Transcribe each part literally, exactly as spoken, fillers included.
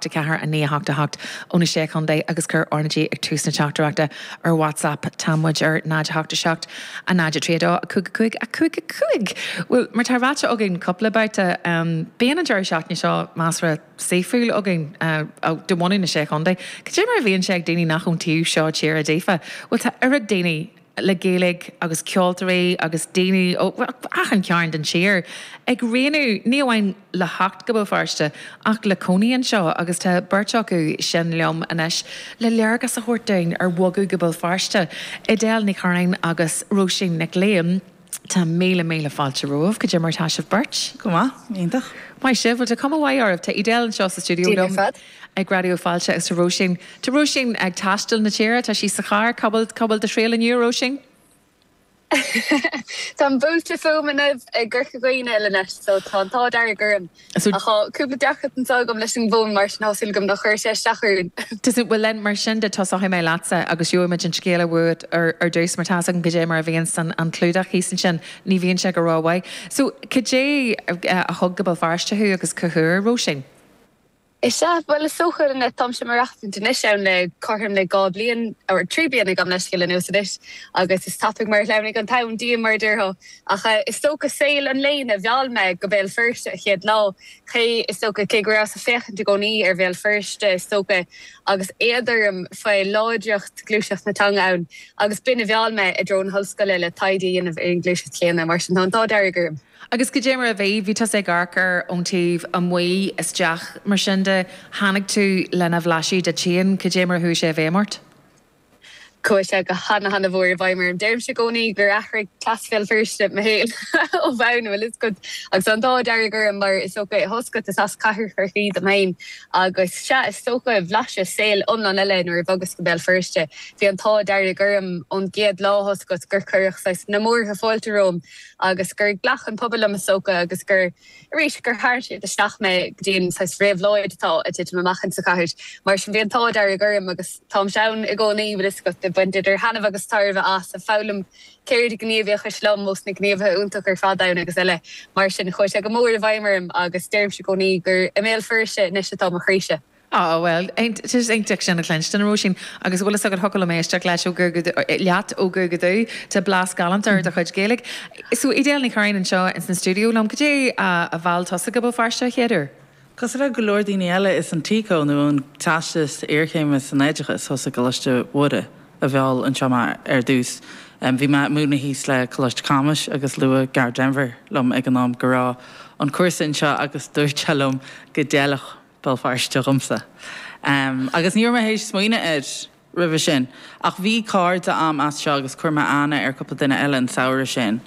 hocht a ceathair a naoi a hocht a hocht ó na sé chontae agus cuir R na G ag tús na teachtaireachta ar WhatsApp tá muid ar náid a hocht a seacht a náid a trí dó a cúig a cúig a cúig a cúig. Well mar tá ráite againn cúpla babhta um, bíonn an deireadh seachtaine seo measartha saoithiúil againn uh, de bhunadh na sé chontae. Cad é mar a bhíonn sé ag daoine nach ón taobh seo tíre daofa. Well tá oiread daoine le Gaeilge agus ceoltóirí agus daoine ó achan chearn den tír ag roghnú ní amháin le theacht go Béal Feirste ach le cónaí anseo agus tá beirt acu sin liom anois le léargas a thabhairt dúinn ar bhogadh go Béal Feirste. Edel Ní Churráin agus Róisín Nic Liam. Tá míle míle fáilte romhaibh cad é mar tá sibh beirt. Go maith iontach. Maith sibh tá cuma mhaith oraibh tá Edel anseo sa stiúideo liom ag Raidió Fáilte agus tá Róisín Tá Róisín ag taisteal na tíre tá sí sa charr cá bhfuil cá bhfuil do thriall inniu Róisín? Tá buailte fúm i gCorca Dhuibhne leis so tá tá dearg orm cúpla deacracht agam leis an bhfón mar sin tá súil agam nach chuir sé isteach. Tá bhfuil len mar sin de tosóidh mé leatsa agus gheobhaimid an scéal uait ar ar dtús mar tá an cad é mar a bhíonn san an clúdach thíos ansin ní bhíonn sé go rómhaith. So cad é a thug go Béal Feirste thú agus cá huair Róisín? Is ea well is dócha na táim mar anois ann le cothrom le dhá bliain ar trí bliana gam leis le nó anois agus is tapaidh mar lenig an t-am dí mar déarfá ach is dócha saol an léinn a mheall mé go Béal Feirste a chéad lá ché is dócha cé go rabhas ag féachaint i gcónaí ar Bhéal Feirste is dócha agus éadarm fé láidreacht gluaiseacht na teanga ann agus b'in a mheall mé i dtreo na hollscoile le taighde a dhéanamh ar an ngluaiseacht chéanna mar sin tá an t-ádh dearg orm. Agus cad é mar a bhí bhí tú ag amharc air ón taobh amuigh isteach mar sin de tháinig tú lena bhlaiseadh de féin cad é mar chuaigh sé i bhfeidhm ort? Chuaigh sé go hana hana mhór i bhfeidhm orm deirimse i gcónaí gur athraigh cleas Bhéal Feirste mo shaol ó bhonn well is good agus an t-ádh dearg orm mar is dócha thosca is as cathair Chorcaí dom féin agus sea is dócha bhlaiseas saol iomlán eile nuair a bhogas go Béal Feirste. Bhí an t-ádh dearg orm ón gcéad lá thoscailt gur cuireadh na múrtha fáilte romham agus gur ghlac an pobal liom is dócha agus gur arís gur tharraing siad isteach mé go dtí an réabhlóid atá ag titim amach in sa chathair mar sin bhí an t-ádh dearg orm agus táim ann i gcónaí is go baint idir thaitneamh agus tairbhe as a foghlaim ceird gníomhaíochais liom mós na gníomhaithe iontach ar fad ann agus eile mar sin chuaigh sé go mór i bhfeidhm orm agus deirimse i gcónaí gur i mBéal Feirste anois atá mo chroíse. Á well iontach sin a chluinstin Róisín agus bhfuil a fhios agat mé isteach leis leat ó go go dú Tá blas galánta ar do chuid Gaeilge. So Edel Ní Churráin anseo in san stiúideo liom cad é a mheall tusa go Béal Feirste chéaduair. Cosúil le go leor daoine eile is an TCO nó an Teastas Iarchéime san Oideachas thuas i gColáiste Mhuire a mheall anseo mé ar dtús. Um, bhí mé múineadh thíos le Coláiste Camuis agus luaigh Gearóid Denvir liom ag an am go raibh an cúrsa anseo agus dúirt sé liom go d'fheilfeadh Béal Feirste dhomsa. Um, agus ní raibh mé théis smaoineamh air roimhe sin, ach bhí cairde agam as seo agus chuir mé aithne ar cúpla duine eile an samhradh sin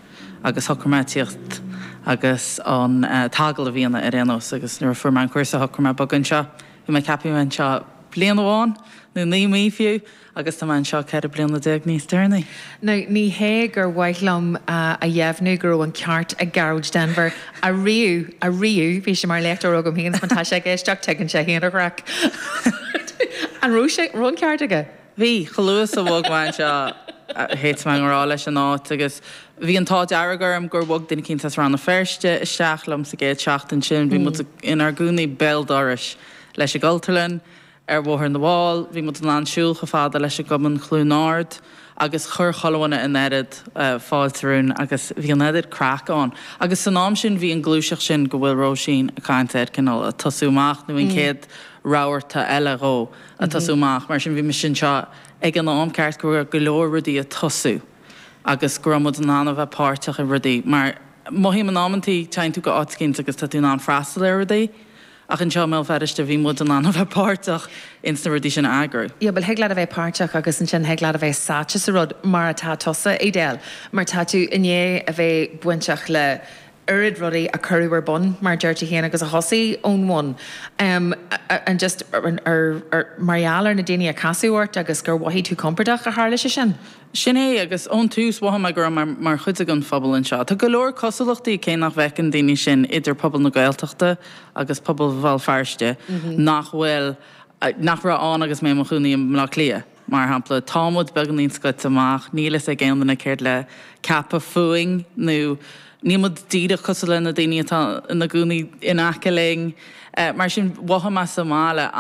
agus shocraigh mé tíocht agus an uh, t-agallamh a dhéanamh ar aon nós agus nuair a fuair mé an cúrsa shocraigh mé bogadh anseo. Bhí mé ceaptha anseo bliain amháin nó naoi mí fiú agus tá mé anseo ceithre bliana déag níos deireanaí. Now ní hé gur mhaith liom uh, a dheimhniú go raibh an ceart ag Gearóid Denvir a riú a riú bhí sé mar léachtóir agam féin tá sé ag éisteacht tuigeann sé féin a chraic. An raibh sé raibh an ceart aige? Bhí chluas a bhog me seo héit me rá leis an áit agus bhí an t-ádh dearg orm gur bhog duine éicint as Rann na Feirste isteach liom sa gcéad seachtain sin, bhí muid inár gcónaí béal dorais leis an gCultúrlann ar Bhóthar na bhFál, bhí muid in ann siúl chomh fada leis an gCumann Chluain Ard agus chuir chuile dhuine an oiread uh, fáilte romhainn agus bhí an oiread craic ann. Agus san am sin bhí an ghluaiseacht sin go bhfuil Róisín ag caint air cineál ag tosú amach nó an chéad rabharta eile dhó ag tosú amach, mar sin bhí sin seo ag an am ceart go go leor rudaí ag tosú agus go raibh muid in ann a bheith páirteach i rudaí, mar mothaím in amantaí téann tú go áit éicint agus tá tú in ann freastal ar rudaí. Ach anseo i mBéal Feirste bhí muid in ann a bheith páirteach ins na rudaí sin a eagrú. Ja, bhuel thig leat a bheith páirteach agus ansin thig leat a bheith sáite sa rud mar atá tusa Edel, mar tá tú i ndiaidh a bheith bainteach le oiread rudaí a cuireadh ar bun mar deir tú féin agus a thosaigh ón bhun. Um, an just ar, ar, ar, mar gheall ar na daoine a casadh ort agus gur mhothaigh tú compordach a tharla sé sin. Sin é agus ón tús mhothaigh mé go raibh mar, mar chuid den phobal anseo. Tá go leor cosúlachtaí cé nach bhfeiceann daoine sin idir pobal na Gaeltachta agus pobal Bhéal Feirste nach bhfuil nach raibh ann agus mé i mo chónaí i mBaile Átha Cliath. Mar shampla tá muid beagáinín scoite amach, níl a fhios ag aon duine céard le ceapadh fúinn nó níl muid díreach cosúil le na daoine atá ina gcónaí in aice linn. Uh, mar sin mhothaigh mé sa mbaile.